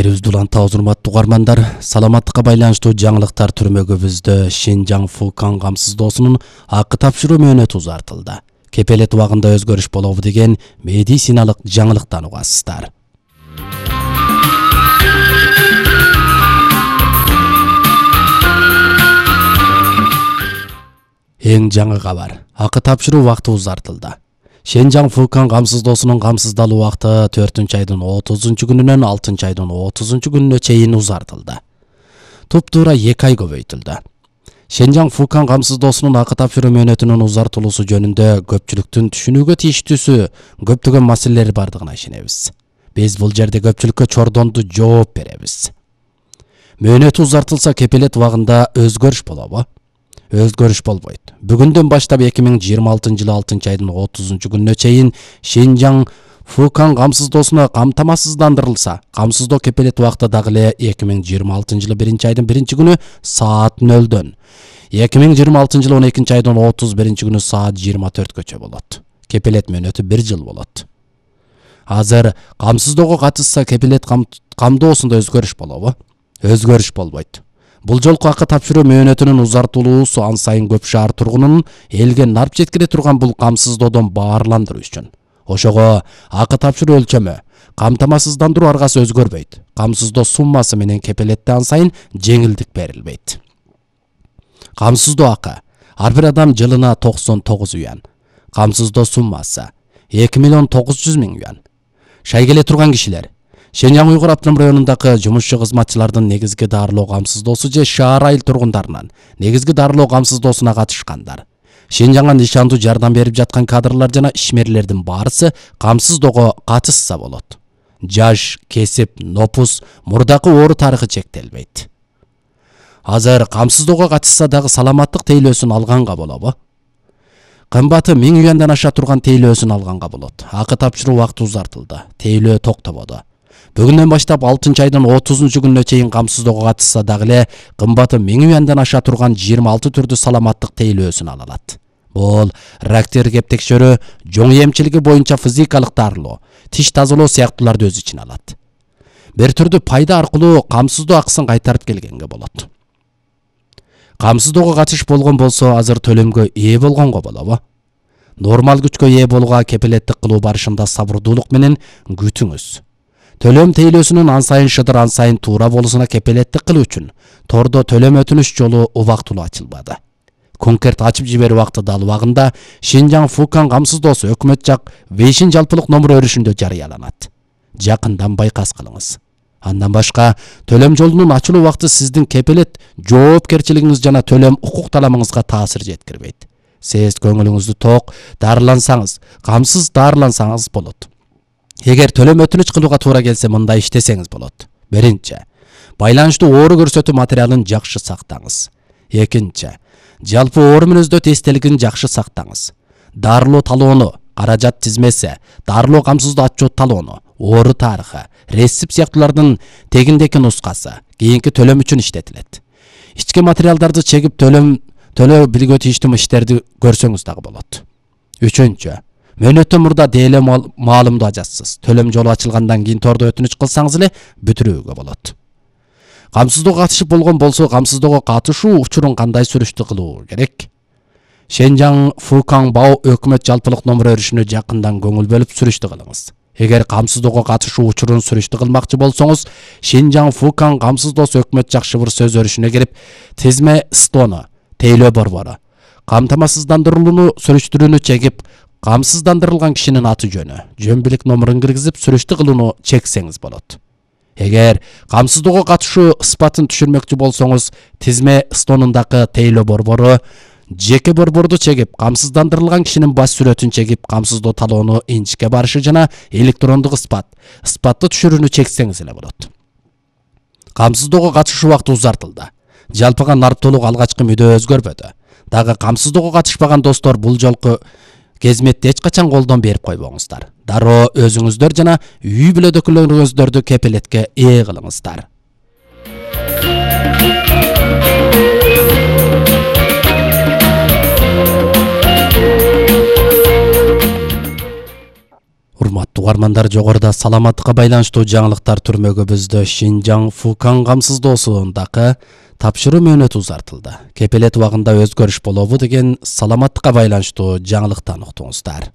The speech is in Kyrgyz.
Эфирибизди улантабыз, урматтуу угармандар. Саламаттыкка байланыштуу жаңылыктар түрмөгүбүздө Шинжаң Фукан камсыздоосунун акы тапшыруу мөөнөтү узартылды. Кепелет убагында өзгөрүш болобу деген медициналык жаңылыктан угасыздар. Эң жаңы кабар. Акы тапшыруу убакыты узартылды. Шинжаң Фукан камсыздоосунун камсыздалуу убакыты 4-айдын 30-күнүнөн 6-айдын 30-күнүнө чейин узартылды. Туптуура 2 ай көбөйтүлдү. Шинжаң Фукан камсыздоосунун акы тапшыруу мөөнөтүнүн узартылуусу жөнүндө көпчүлүктүн түшүнүүгө тийиштүүсү көптөгөн маселелер бардыгына ишенебиз. Биз бул жерде көпчүлүккө чордондуу жооп беребиз. Мөөнөтү узартылса кепелет убагында өзгөрүш болобу? Өзгөрүш болбойт. Бүгүндөн баштап 2026-жылы 6-айдын 30-күнүнө чейин Шинжаң Фукан камсыздоосуна камтамасыздандырылса, камсыздоо кепелет убакыты дагы эле 2026-жылы 1-айдын 1-күнү саат 0-дөн, 2026-жылы 12-айдын 31-күнү саат 24-көчө болот. Кепелет мөөнөтү 1 жыл болот. Азыр камсыздоого катышса кепелет камдоосунда өзгөрүш болобу? Өзгөрүш болбойт. Бул жолку акы тапшыруу мөөнөтүнүн узартылуусу ан сайын көп шаар тургунун элге нарп жеткире турган бул камсыздоодон баарландыруу үчүн. Ошого акы тапшыруу өлчөмү, камтамасыздандыруу аргасы өзгөрбөйт. Камсыздоо суммасы менен кепелетте ан сайын жеңилдик берилбейт. Камсыздоо акы ар бир адам жылына 99 юан. Камсыздоо суммасы 2.900.000 юан. Шай келе турган кишилер Шинжаң Уйгур автоном районундагы жумушчу кызматчылардын негизги дарылоо камсыздоосу же шаар айыл тургундарынан негизги дарылоо камсыздоосуна катышкандар. Шинжаңга нишандуу жардам берип жаткан кадрлар жана ишмерлердин баарысы камсыздоого катышса болот. Жаш, кесип, нопус, мурдакы оору тарыхы чектелбейт. Азыр камсыздоого катышса дагы саламаттык тейлөөсүн алганга болобу? Кымбаты 1000 юандан аша турган тейлөөсүн алганга болот. Акы тапшыруу убакыты узартылды. Тейлөө токтободу. Бүгүндөн баштап 6-айдын 30-күнүнө чейин камсыздоого катышса дагы эле кымбаты 1000 юандан аша турган 26 түрдүү саламаттык тейлөөсүн ала алат. Бул рак тергеп текшерүү, жоң эмчилиги боюнча физикалык дарылоо, тиш тазалоо сыяктууларды өз ичине алат. Бир түрдүү пайда аркылуу камсыздоо акысын кайтарып келгенге болот. Камсыздоого катыш болгон болсо азыр төлөмгө ээ болгонго болобу? Нормал күчкө ээ болууга кепелеттик кылуу барышында сабырдуулук менен күтүңүз. Төлөм тейлөөсүнүн ан сайын шыдыр, ан сайын туура болуусуна кепелеттик кылуу үчүн тордо төлөм өтүнүш жолу убактылуу ачылбады. Конкрет ачып жиберүү убакыты дал убагында Шинжаң Фукан камсыздоосу өкмөт жак Вейшин жалпылык номер өрүшүндө жарыяланат. Жакындан байкас кылыңыз. Андан башка төлөм жолунун ачылуу убакыты сиздин кепелет жоопкерчилигиңиз жана төлөм укук таламыңызга таасир жеткирбейт. Сиз көңүлүңүздү ток, дарылансаңыз, камсыз дарылансаңыз болот. Эгер төлөм өтүнүч кылууга туура келсе мындай иштесеңиз болот. Биринчи, байланыштуу оору көрсөтүү материалын жакшы сактаңыз. Экинчи, жалпы оору мүнөздөт эстелигин жакшы сактаңыз. Дарылоо талоону, каражат тизмеси, дарылоо камсыздоо отчет талоону, оору тарыхы, рецепт сыяктуулардын тегиндеки нускасы кийинки төлөм үчүн иштетилет. Ички материалдарды чегип төлөө билгөө тийиштүү иштерди көрсөңүз дагы болот. Үчүнчү, мөөнөттөн мурда деле маалымдоо ажатсыз. Төлөм жолу ачылгандан кийин тордо өтүнүч кылсаңыз эле бүтүрүүгө болот. Камсыздоого катышып болгон болсо, камсыздоого катышуу учурун кандай сүрүштү кылуу керек? Шинжаң Фукан Бао өкмөт жалпылык номер өрүшүнө жакындан көңүл бөлүп сүрүштү кылыңыз. Эгер камсыздоого катышуу учурун сүрүштү кылмакчы болсоңуз, Шинжаң Фукан камсыздоосу өкмөт жак шыбыр сөз өрүшүнө кирип, тизме стону, тейлөө борбору, камтамасыздандырууну сүрүштүрүүнү чегип, камсыздандырылган кишинин аты жөнү, жөн билик номерин киргизип сүрүштү кылууну чексеңиз болот. Эгер камсыздоого катышуу ыспатын түшүрмөкчү болсоңуз, тизме стонундагы тейлөө борбору, жеке борборду чегип, камсыздандырылган кишинин баш сүрөтүн чегип, камсыздоо талоону инчикке барышы жана электрондук ыспатты түшүрүүнү чексеңиз эле болот. Камсыздоого катышуу убакыты узартылды. Жалпыга нарптоолук алгачкы мүдө өзгөрбөдү. Дагы камсыздоого катышпаган достор бул жолку кезметти эч качан колдон берип койбоңуздар. Дароо өзүңүздөр жана үй бүлөдөгүлөрүңүздөрдү кепелетке ээ кылыңыздар. Урматтуу Угармандар, жогоруда саламаттыкка байланыштуу жаңылыктар түрмөгүбүздө Шинжаң Фукан камсыздоосундагы тапшыруу мөөнөтү узартылды. Кепелет убагында өзгөрүш болобу деген саламаттыкка байланыштуу жаңылыктан уктуңуздар.